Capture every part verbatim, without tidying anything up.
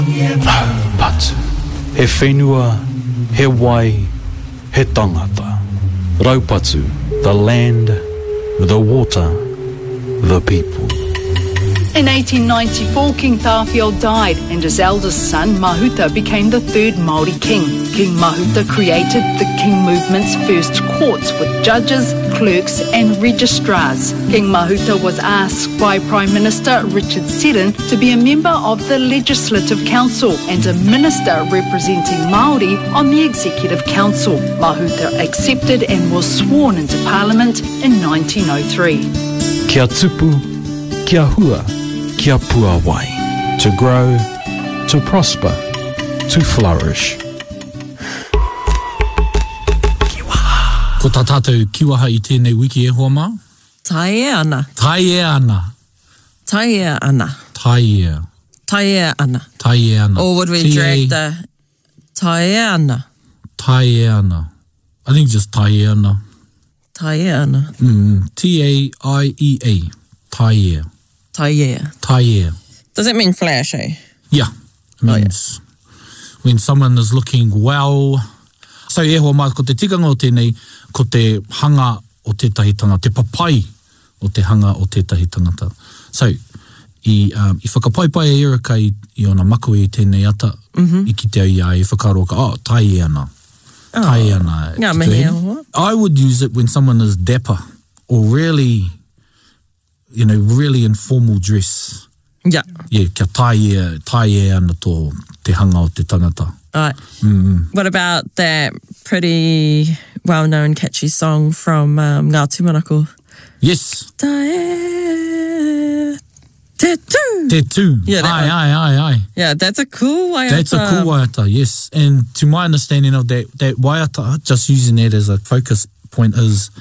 Raupatu. He whenua, he wai, he tangata. Raupatu, the land, the water, the people. In eighteen ninety-four, King Tāwhiao died and his eldest son, Mahuta, became the third Māori king. King Mahuta created the King movement's first courts with judges, clerks and registrars. King Mahuta was asked by Prime Minister Richard Seddon to be a member of the Legislative Council and a minister representing Māori on the Executive Council. Mahuta accepted and was sworn into Parliament in nineteen oh three. Kia tupu, kia hua, kia puawai. To grow, to prosper, to flourish. Ko tā tātou kiwaha i tēnei wiki e hoa mā? Taea ana. Taea ana. Taea ana. Taea. Taea ana. Taea ana. Or would we T A drag the taea ana? Taea ana. I think just taea ana. Taea ana. Mm, T A I E A. Taea. Taea. Taea. Does it mean flash, eh? Yeah. It means oh, yeah. when someone is looking well. So e hoa mā, ko te tikanga o tēnei, ko te hanga o tētahi tangata, te papai o te hanga o tētahi tangata. So, i, um, i whakapaipai e Erika i, i ona makawe i tēnei ata, mm -hmm. i kite au i a e whakaroa ka, oh, tae ana. Oh. Tae ana. Ngā mihi e hoa. I would use it when someone is dapper or really, you know, really in formal dress. Yeah. Yeah, kia tae, tae ana tō te hanga o te tangata. Right. Mm. What about that pretty well-known catchy song from um, Ngā Tūmanako? Yes. Tae te tū. Te tū. Yeah, that aye, one. aye, aye, aye. Yeah, that's a cool waiata. That's a cool waiata, yes. And to my understanding of that, that waiata, just using that as a focus point, is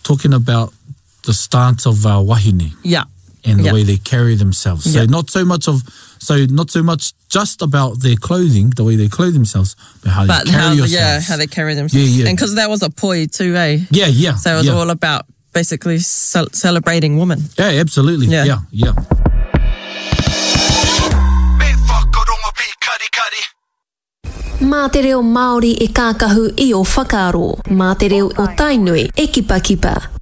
talking about the stance of our wahine. Yeah. And the yeah. way they carry themselves. So yeah. not so much of, so not so much just about their clothing, the way they clothe themselves, but how but they carry how, yourselves. Yeah, how they carry themselves. Yeah, yeah. And because that was a poi too, eh? Yeah, yeah. So it was yeah. all about basically ce- celebrating women. Yeah, absolutely. Yeah, yeah. yeah. Mā te reo Māori e kākahu i o whakaaro. Mā te reo o Tainui e kipa kipa.